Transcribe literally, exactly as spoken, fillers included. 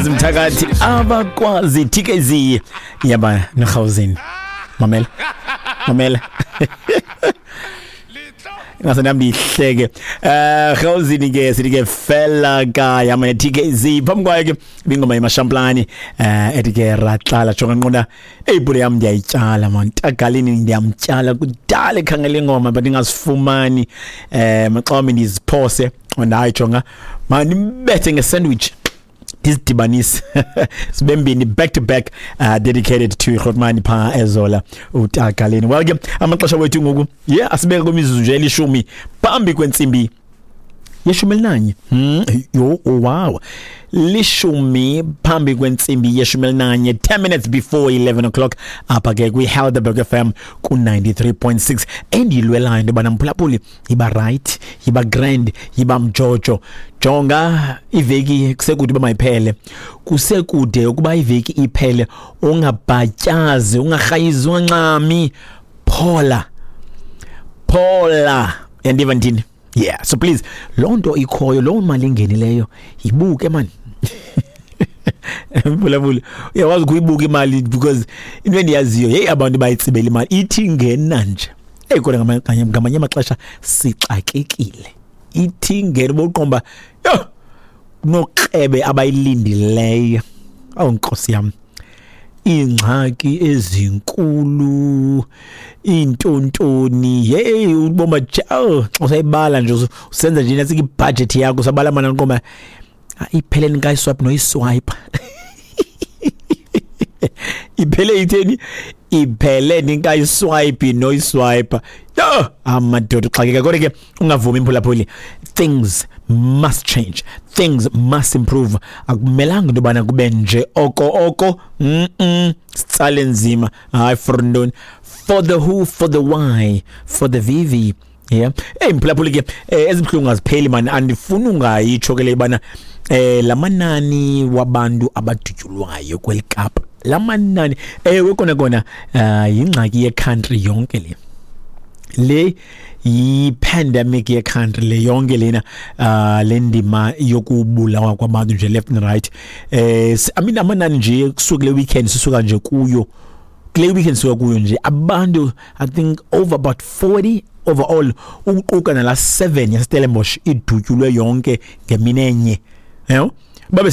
Mthakathi abakwazi T K Z yaba noRhawuzini. Mamela, mamela, ngase nami ndihleke. eh Rhawuzini ke sithi ke fela ka yama ne T K Z. Phambi kwayo ke ibingoma yeMashamplani eh ethi ke ratlala. Jonga, nqonda eyibhule yami, ndiyayityala man, tagalini ndiyamtyala kudala ekhangela ingoma, but ingazifumani. eh maxa wami ndiziphose hayi, jonga manibethe ngesandwich, ndizidibanise sibe mbini back to back, uh, dedicated to Grootman pha ezola utagaleni. Well ke, amaxesha wethu ngoku, yeah, asibeka kwimizuzu nje elishumi phambi kwentsimbi yeshumi elinanye. hmm yo oh, wow, lishumi phambi kwentsimbi yeshumi elinanye, ten minutes before eleven o'clock, apha ke kwi-Helderberg F M ku-ninety-three point six. Endiyilwelayo into yobana, mphulaphuli, yiba right, yiba grand, yiba mjojo. Jonga, iveki kusekude uba mayiphele, kusekude ukuba iveki iphele. Ungabhatyazi, ungarhayizi, ungancami, phola, phola. Yandiva ndithini? Yeah, so please, loo nto ikhoyo, loo mali ingenileyo, yibuke man, mphulaphuli. Uyakwazi ukuyibuka imali, because into endiyaziyo, yeyi, abantu bayitsibela imali ithi ingena nje. Eyi, kodwa ngamanye ngamanye amaxesha sixakekile. Ithi ingena uboqomba, yho, kunokrebe abayilindileyo. Awu nkosi yam, iingxaki ezinkulu, iintontoni, hey, uboma xa usayibala nje, usenza nje nasika ibudget yakho, usabala mana nqoma ipheleni kayiswipe noyiswipe, iphele itheni, iphele ninkayiswipe noyiswipe. Yo, amadoda uxakeka. Kodwa ke ungavumi, imphulaphuli, things must change, things must improve. Akumelanga into yobana kube nje oko oko. mm -mm. Sitsale nzima, hayi, for ntoni? For the who, for the why, for the V V. Yeah, hey mphulaphuli ke, eh, ezibuhlungu azipheli man. Andifuni ungayitsho ke le bana eh lamanani wabantu abadutyulwayo kweli Kapa, lamanani, ewe kona kona, uh, yingxaki ye-country yonke le le yi-pandemic ye-country le yonke lena. uh le ndima yokubulawa kwabantu nje left and right, eh I mean, amanani nje kusuka kule weekend sisuka nje kuyo, kule weekend sisuka kuyo nje, abantu I think over about forty overall, ukuquka nala seven yaseStellenbosch idutyulwe yonke ngemini enye, yabo.